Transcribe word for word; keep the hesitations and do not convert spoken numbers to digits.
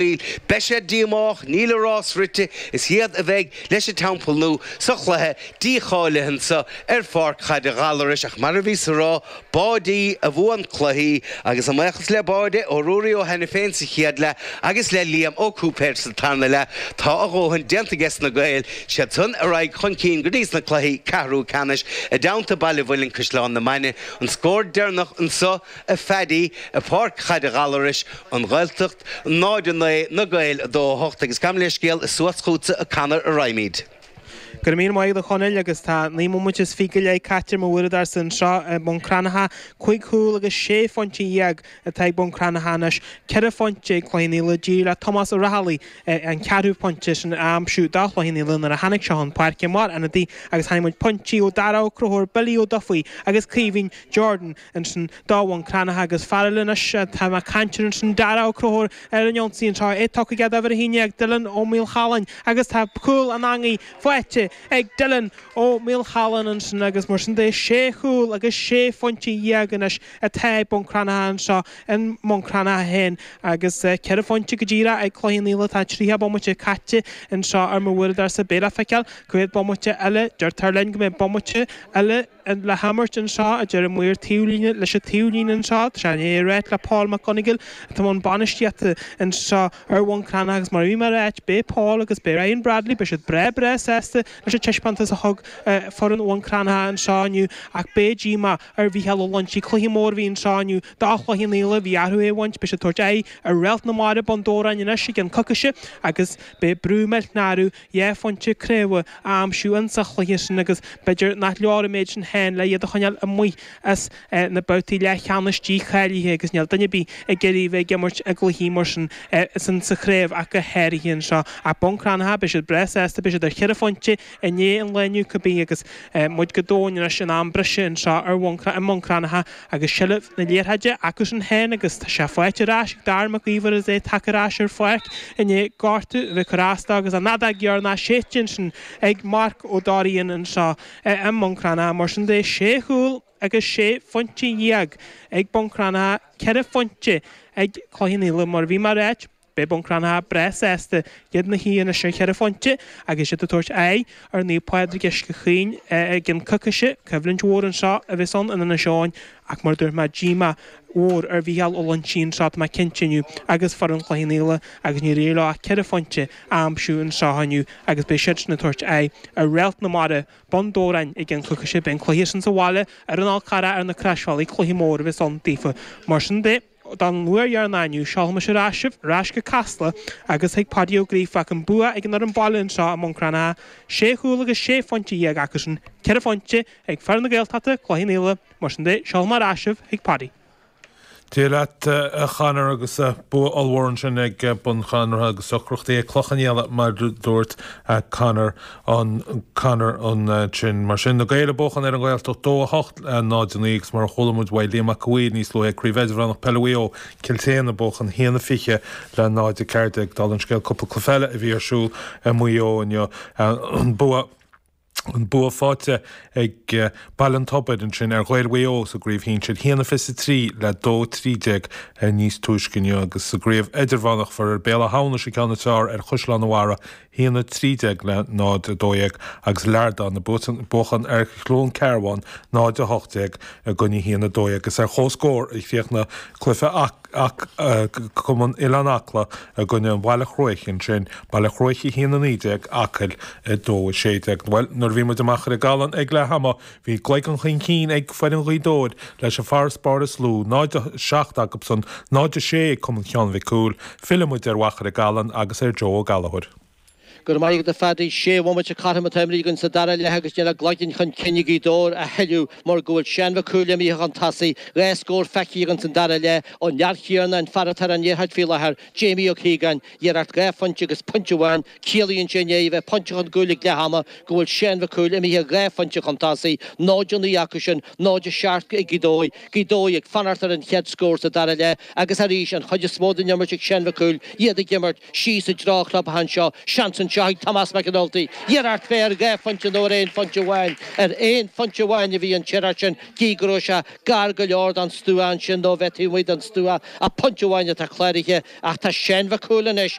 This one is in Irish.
Beidh siad díomách, níl a rás rite, is iad a bheidh leis an Teampall Nua sa chluiche dícháilithe anseo ar pháirc chaide Ghallarais ach mar a bhíos a rá, báidí a bhuann cluichí agus a mbuíochas le báide ó Ruairí Ó hAiniféin sa chéad leath agus le Liam Ó Cúipéir sa tarna leath, tá a dhóthain déanta aige na Gaeil, siad san ar aghaidh chun cinn go dtí sna cluichí ceathrú ceannais i dteannta Baile Mhuilinn Caisleán na Mainge an scór deireanach anseo a Phaddy i bPáirc Chaide Ghallarais an Ghaeltacht náid a naoi na Gaeil a dó a hocht agus gabh mo leithscéal is suas chugatsa a Conor a raghaimid. Go raibh míle maith agat a Chonaill agus tá naoi mbomaite is fiche go leith caite mar uaireadóir anseo i mBun Cranncha, cúig chúl agus sé phointe dhéag atá ag Bun Cranncha anois, ceithre phointe ag Cloich Cheann Fhaola, d'éirigh le Tomás Ó Raghallaigh an ceathrú pointe sin a aimsiú do Chloich Cheann Fhaola nuair a tháinig sé chun páirce mar ionadaí agus chonaic muid pointí ó Dara Ó Conchúir, Billy Ó Dufaigh agus Caoimhín Jordan ansin do Bhun Cranncha agus fear eile anois atá ag caint air ansin Dara Ó Conchúir ar an ionsaí anseo é tugtha aige d'uimhir a haon déag Dylan Ó Maolchalláin agus tá cúl an eangaigh faighte ag Dylan Ó Maolchalláin ansin agus mar sin de sé chúl agus sé phointe dhéag anois atá ag Bun Cranncha anseo i mBun Cranncha féin agus ceithre phointe go díreach ag Cloich Cheann Fhaola tá tríocha bomaite caite anseo ar mo uaireadóir beidh le feiceáil cá mhéad bomaite eile deirtear linn go mbeidh bomaite eile le himirt anseo a deir an maor taobhlíne leis an taobhlíne anseo Tá sé é ráite le Paul McGonigal atá an bainistíochta anseo ar Bhun Cranncha agus mar bhí mar áit beidh Paul agus beidh Ryan Bradley beidh siad breá breá sásta leis an taispeántas a thug foireann Bhun Cranncha anseo inniu ach beidh díomá ar Mhícheál Ó Loinsigh cluiche mór a bhí anseo inniu do Chloich Cheann Fhaola bhí orthu é a bhaint beidh siad ag tabhairt aghaidh ar Réalt na Mara Bun Dobhráin anois i gceann coicíse agus beidh brú millteanach orthu dhá phointe craobha a aimsiú insa chluiche sin agus b'fhéidir nach leor an méid sin féin le iad a choinneáil amuigh as na babhtaí leathcheannais dícháilithe agus níl duine ar bith ag iarraidh bheith ag imirt i gcluichí mar sin san sa chraobh ach go háirithe anseo ach Bun Cranncha beidh siad breá sásta beidh siad ar cheithre phointe i ndiaidh an lae inniu cibé agus muid go domhain anois in am breise anseo ar i mBun Cranncha agus seilbh na liathróide acu sin féin agus tá sé faighte ar ais ag Darragh Mac Íomhair is é tagtha ar ais ar pháirc i ndiaidh gortú a bheith cur as dó agus an fheadóg dheireanach séidte ansin ag Marc Ó Dorian anseo i mBun Cranncha mar sin de sé chúl agus sé phointe dhéag ag Bun Cranncha ceithre phointe ag Cloich Cheann Fhaola mar bhí mar áit Beidh Bun Cranncha breá sásta iad ina shuí anois ar cheithre phointe agus iad ag tabhairt aghaidh ar Naomh Pádraig Uisce Chaoin i gceann coicíse, coimhlint mhór anseo a bheas ann in Inis Eoghain ach mar dúirt mé díomá mhór ar Mhícheál Ó Loinsigh anseo tá mé cinnte inniu agus foireann Chloich Cheann Fhaola agus níor éirigh leo ach ceithre phointe a aimsiú anseo inniu agus beidh siadsan ag tabhairt aghaidh ar Réalt na Mara Bun Dobhráin i gceann coicíse beidh an cluiche sin sa bhaile ar an Fhál Carrach ar na Croisbhealaí cluiche mór a bheas ann daofa mar sin de. Don uair dheireanach inniu, seolfaimis ar ais sibh, ar ais go Casla agus chuig Paddy Ó Gríofa ach an bua ag an fhoireann baile anseo i mBun Cranncha, sé chúl agus sé phointe dhéag acusan, ceithre phointe ag foireann na Gaeltachta, Cloich Cheann Fhaola, mar sin de, seolfaidh mé ar ais sibh chuig Paddy. Dia leat a Chonor agus bua ollmhór ansin ag Bun Cranncha agus deacrachtaí ag Cloich Cheann Fhaola mar a dúirt Conor an Conor ansin. Mar sin na Gaeil ag buachan ar an Ghaeltacht dó a hocht le náid a naoi agus mar a chuala muid uaidh Liam Mac a' Mhaoir níos luaithe Craobh Idirmheánach Peile Mhaigh Eo Cill tSéadhna ag buachan haon a fiche le náid a ceathair déag. Dála an scéil cúpla cluiche eile a bhí ar siúl i Maigh Eo inniu an bua An bua faighte ag Baile an Tobair ansin ar Ghaeil Mhaigh Eo sa gcraobh shinsir, haon a fiche a trí le dó trí déag níos túisce inniu agus sa gcraobh idirmheánach fuair Béal Átha hAmhnais an ceann is fearr ar Chaisleán an Bharraigh, haon a trí déag le náid a dó dhéag agus Lardán ag buachan ar Chluain Cearbán, náid a hocht déag i gcoinne haon a dó dhéag. Is ar comhscór a chríochnaigh cluiche Cumann Oileán Acla i gcoinne an Bhaile Chruaich ansin, Baile Chruaich a haon a naoi déag, Acaill a dó a sé déag. Bhuel, nuair a bhí muid i Machaire Gallan ag leath ama, bhí gleigeann chun cinn ag foireann Ghaoth Dobhair leis an farasbarr is lú, náid a seacht acusan, náid a sé ag Cumann Sheáin Mhic Cumhaill. Fillfidh muid ar Mhachaire Gallan agus ar Joe Ó Gallchóir. Go raibh maith agat a Phaddy. Sé bhomaite cothrom atá imeartha againn sa dara leath agus níl ach gleigeann chun cinn ag Gaoth Dobhair a thuilleadh mar go bhfuil Seán Mac Cumhaill imithe chun tosaigh. Dhá scór feicthe againn san dara leath ón fhear chéanna, an fear atá ar an liathróid faoi láthair, Jamie Ó Cíogáin, iarracht dhá phointe agus pointe amháin. Ciallaíonn sé i ndiaidh a bheith pointe chun cúil ag leath ama go bhfuil Seán Mac Cumhaill imithe dhá phointe chun tosaigh, náid a naoi acu sin, náid a seacht ag Gaoth Dobhair. Gaoth Dobhair ag fanacht ar an chéad scór sa dara leath agus arís an chuid is mó den imirt ag Seán Mac Cumhaill, iad ag imirt síos i dtreo an chlubtheach anseo, seans anseo anseo ag Tomás McAnulty. Iarracht fé ar dhá phointe nó ar aon phointe amháin ar aon phointe amháin a bhí an iarracht sin gí go raibh sé gar go leor don stua ansin nó bheith taobh amuigh den stua ach pointe amháin atá cláraithe ach tá Seán Mac Cumhaill anois